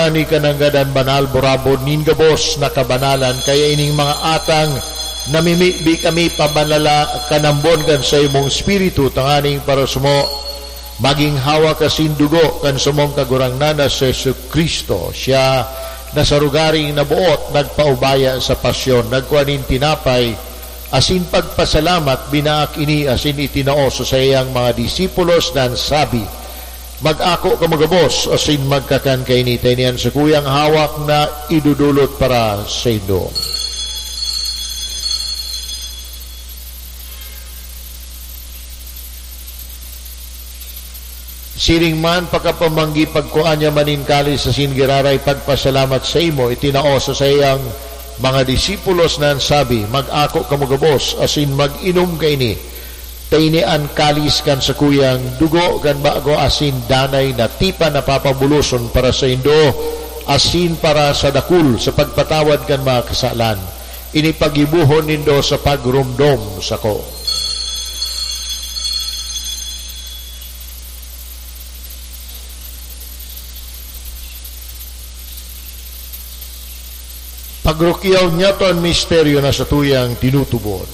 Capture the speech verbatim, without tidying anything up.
Ani ka nanggad an banal, burabod nin gabos na kabanalan, kaya ining mga atang namimibi kami pabanala kanambon kan saimong Espiritu, tanganing para sumo magin hawak asin dugo kan samong Kagurangnan na si Jesu-Cristo. Siya na sa rogaring naboot nagpaubaya sa pasyon, nagkua nin tinapay, asin pagpasalamat, binaak ini asin itinao sa saiyang mga disipulos na sabi, "Mag-ako kamo gabos asin magkakan kaini, ta ini an sakuyang hawak na idodolot para saindo." Siring man, pakapamanggi, pagkua niya man nin kalis asin giraray pagpasalamat saimo, itinao sa saiyang mga disipulos na sabi, "Mag-ako kamo gabos asin mag-inom kaini. Ta ini an kalis kan sakuyang dugo kan bago asin danay na tipan na papabuloson para saindo asin para sa dakul sa pagpatawad kan mga kasalan. Ini paggibohon nindo sa pagromdom sako." Pagrukyaw niyato an misteryo na satuyang tinutubod.